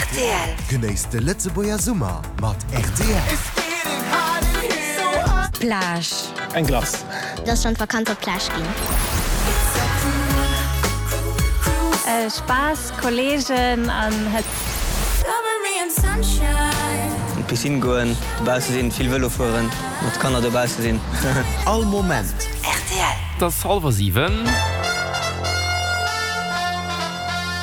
Rtl. Genéisst de Lëtzebuerger Summer mat rtl. Plage. Eng Glace. Et ass schonn d'Vakanz op d'Plage ginn. Spaass, Kolleegen an Hëtzt. An d'Piscine goen, dobausse sinn, vill Vëlo fueren, mat Kanner dobausse sinn. All Moment. Rtl. Et ass hallwer 7.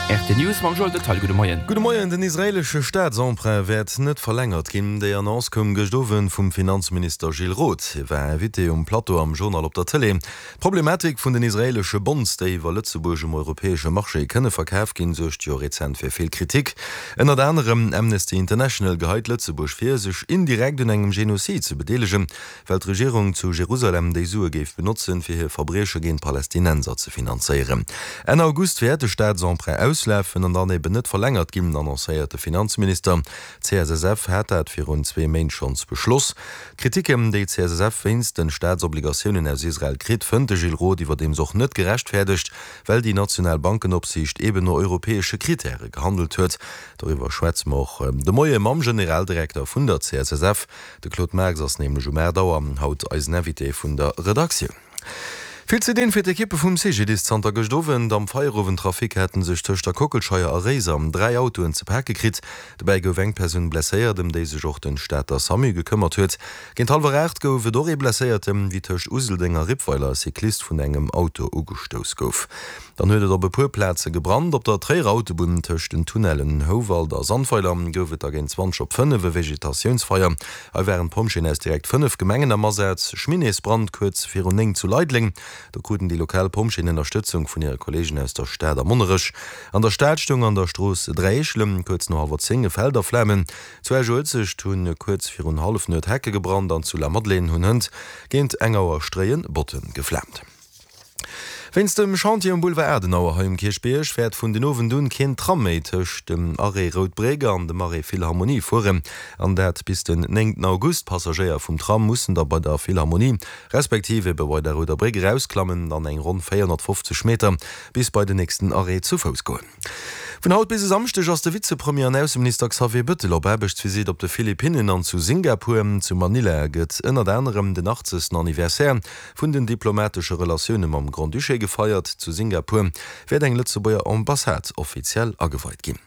RT News mam Joël Detaille. Gudde Moien. Gudde Moien. Den israeelesche Staatsemprunt wäert net verlängert ginn. Déi Annonce koum gëscht Owend vum Finanzminister Gilles Roth. Hie war Invité um Plateau am Journal op der Tëlee. D'Problematik vun den israeelesche Bonds, déi iwwer Lëtzebuerg um europäesche Marché kënne verkaf ginn, suergt jo rezent fir vill Kritik. Ënnert anerem Amnesty International geheit Lëtzebuerg vir, sech indirekt un engem Genozid ze bedeelegen, well d'Regierung zu Jerusalem déi Sue géif benotzen, fir hir Verbrieche géint Palästinenser ze finanzéieren. Enn August wäert de Staatsemprunt auslafen an dann eben net verlängert ginn, annoncéiert de Finanzminister. D'CSSF hat dat virun zwee Méint schonns beschloss. D'Kritiken, déi d'CSSF wéinst de Staatsobligatiounen aus Israel kritt, fënnt de Gilles Roth iwwerdeems och net gerechtfäerdegt, well déi national Bankenopsiicht eben no europäesche Krittäre gehandelt huet. Doriwwer schwätze mer och de Moie mam Generaldirekter vun der CSSF. De Claude Marx ass nämlech um 8 Auer haut eisen Invité vun der Redaktioun. Vill ze dinn fir d'Ekippe vum CGDIS zanter gëscht Owend. Am Feierowendtrafic haten sech tëscht der Kockelscheier a Réiser 3 Autoen ze pake kritt. Dobäi gouf eng Persoun blesséiert, ëm déi sech och den Stater Samu gekëmmert huet. Géint hallwer 8 gouf et och ee Blesséierten, wéi tëscht Useldeng a Rippweiler e Cyclist vun engem Auto ugestouss gouf. Dann huet et op e puer Plaze gebrannt. Op der Tréierer Autobunn tëscht den Tunnellen Houwald a Sandweiler gouf et da géint 20 op 5 e Vegetatiounsfeier. Hei waren d'Pompjeeën aus direkt 5 Gemengen am Asaz. Chemineesbrand kuerz virun 9 zu Leideleng. Do kruten déi lokal Pompjeeën Ënnerstëtzung vun hire Kolleegen aus der Stad a Monnerech. An der Stad stoung an der Strooss Dräieschlem kuerz no hallwer 10 e Feld a Flamen. Zu Esch-Uelzecht hu kuerz virun Hallefnuet Hecke gebrannt an zu Lamadelaine hunn hënt géint eng Auer Stréien Botte geflaamt. Wéinst dem Chantier um Boulevard Adenauer hei um Kierchbierg wäert vun den Owend un keen Tram méi tëscht dem Arrêt Rout Bréck an dem Arrêt Philharmonie fueren, an dat bis den 9 August. D'Passagéier vum Tram mussen da bei der Philharmonie respektiv ebe bei der Rouder Bréck erausklammen an eng ronn 450 Meter bis bei den nächsten Arrêt zu Fouss goen. Vun haut bis e Samschdeg ass de Vizepremier an Ausseminister Xavier Bëttel op Aarbechtsvisitt op de Philippinnen an zu Singapur. Zu Manila gëtt ënnert anerem den 80. Anniversaire vun den diplomatesche Relatioune mam Grand-Duché gefeiert. Zu Singapur wäert eng Lëtzebuerger Ambassade offiziell ageweit ginn.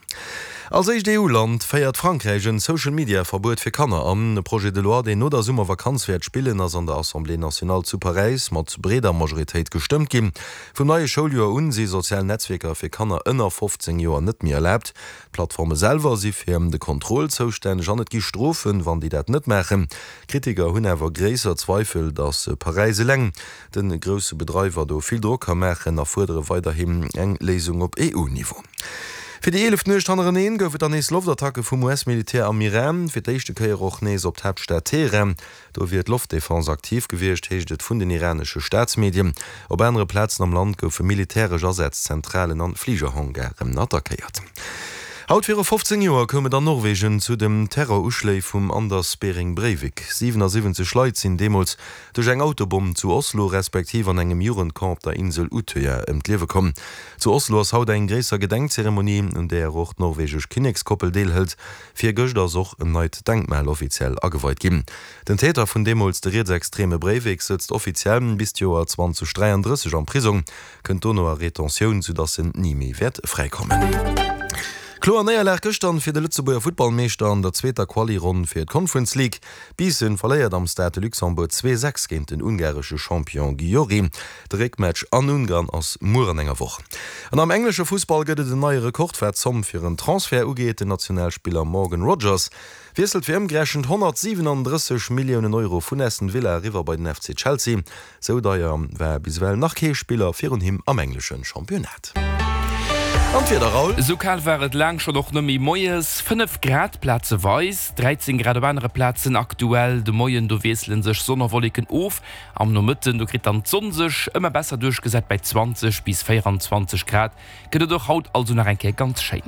Als éischt EU-Land féiert Frankräich en Social-Media-Verbuet fir Kanner an. E Projet de loi, deen no der Summervakanz wäert spillen, ass an der Assemblée nationale zu Paräis mat breeder Majoritéit gestëmmt ginn. Vum neie Schouljoer un si sozial Netzwierker fir Kanner ënner 15 Joer net méi erlaabt. D'Plattforme selwer si fir de Contrôle zoustänneg an et gi Strofen, wann déi dat net maachen. Kritiker hunn awer gréisser Zweifel, datt Paräis eleng de grousse Bedreiwer do vill Drock ka maachen a fuerdere weiderhin eng Léisung op EU-Niveau. Fir déi eeleft Nuecht hannereneen gouf et dann nees Loftattacke vum US-Militär am Iran, fir d'éischte Kéier och nees op d'Haaptstad Teheran. Do wier d'Loftdefense aktiv gewiescht, heescht et vun den iranesche Staatsmedien. Op anere Plazen am Land goufe militäresch Asätz, Zentralen an Fligerhangaren attackéiert. Haut viru 15 Joer koum et an Norwegen zu dem Terroruschléi vum Anders Behring Breivik. 77 Leit sinn deemools duerch eng Autobomm zu Oslo respektiv an engem Jugendcamp op der Insel Utøya ëm d'Liewe komm. Zu Oslo ass haut eng gréisser Gedenkzeremonie, un där och d'norwegesch Kinnekskoppel deelhëlt. Virgëscht ass och en neit Denkmal offiziell ageweit ginn. Den Täter vun deemools, de rietsextreme Breivik, sëtzt offiziell bis d'Joer 2033 am Prisong. Kënnt dono a Retentioun, soudass en ni méi wäert fräikommen. Kloer Néierlag gëschtern fir de Lëtzebuerger Futtballmeeschter an der zweeter Quali-Ronn fir d'Conference League. Biissen verléiert am Stade de Luxembourg 2, 6 géint den ungaresche Champion Győri. De Réckmatch an Ungarn ass muer an enger Woch. An am englesche Fussball gëtt et en neie Rekord wat d'Zomm fir en Transfert ugeet. Den Nationalspiller Morgan Rogers wiesselt fir ëmgerechent 137 Milliounen Euro vun Aston Villa eriwwer bei den FC Chelsea. Sou deier war bis ewell nach kee Spiller virun him am englesche Championnat. An d'Wieder, Raoul? Esou kal war et laang schonn och net méi. Moies 5 Grad plazeweis, 13 Grad op anere Plazen aktuell. De Moien do wiessele sech Sonn a Wolleken of. Am Nomëtten do kritt dann d'Sonn sech ëmmer besser duerchgesat. Bäi 20 bis 24 Grad gëtt et och haut also nach eng Kéier ganz schéin.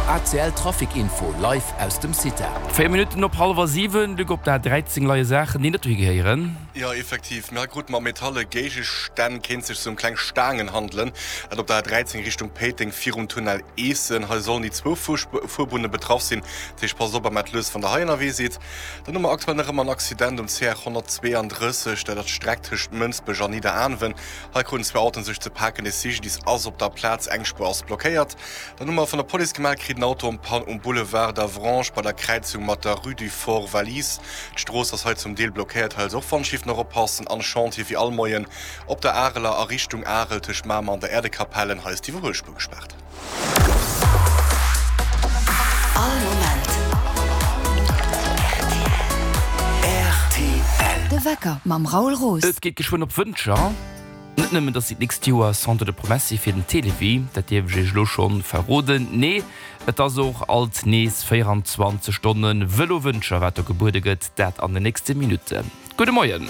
ACL Trafic Info live aus dem CITA. 4 Minutten op hallwer 7, Luc, op der A 13 leie Saachen, déi net dohi gehéieren. Jo, effektiv. Mir hei krute mer metalle Géigestänn, kéint sech sou ëm kleng Staangen handelen. Dat op der A13 Richtung Péiteng virum Tunnel Eessen. Hei sollen déi zwou Fuerbunne betraff sinn. Dat heescht, passt op a maacht lues, wann der hei ënnerwee sidd. Dann hu mer aktuell nach ëmmer en Accident um CR 132, dat ass d'Streck tëscht Mënsbech an Nidderaanwen. Hei kruten zwou Autoen sech ze paken. De CGDIS ass op der Plaz, eng Spuer ass blockéiert. Dann hu mer vun der Police gemellt kritt, en Auto en panne um Boulevard d'Avranches bei der Kräizung mat der Rue du Fort Valise. D'Strooss ass hei zum Deel blockéiert, hei also och Wandschief nach oppassen. An Chantier wéi all Moien op der Areler a Richtung Arel tëscht Mamer an der Äerdekapellen, hei ass d'Iwwerhuelspuer gespaart. All Moment rtl. De Wecker mam Raoul Roos. Et geet geschwënn op Wëncher. Net nëmmen, dass si d'nächst Joer Centre de Promesse si fir den Télévie, dat dierf ech iech elo schonn verroden, nee, et ass och alt nees 24 Stonne Vëlo Wëncher, wat do gebuede gëtt, dat an den nächste Minutten. Gudde Moien.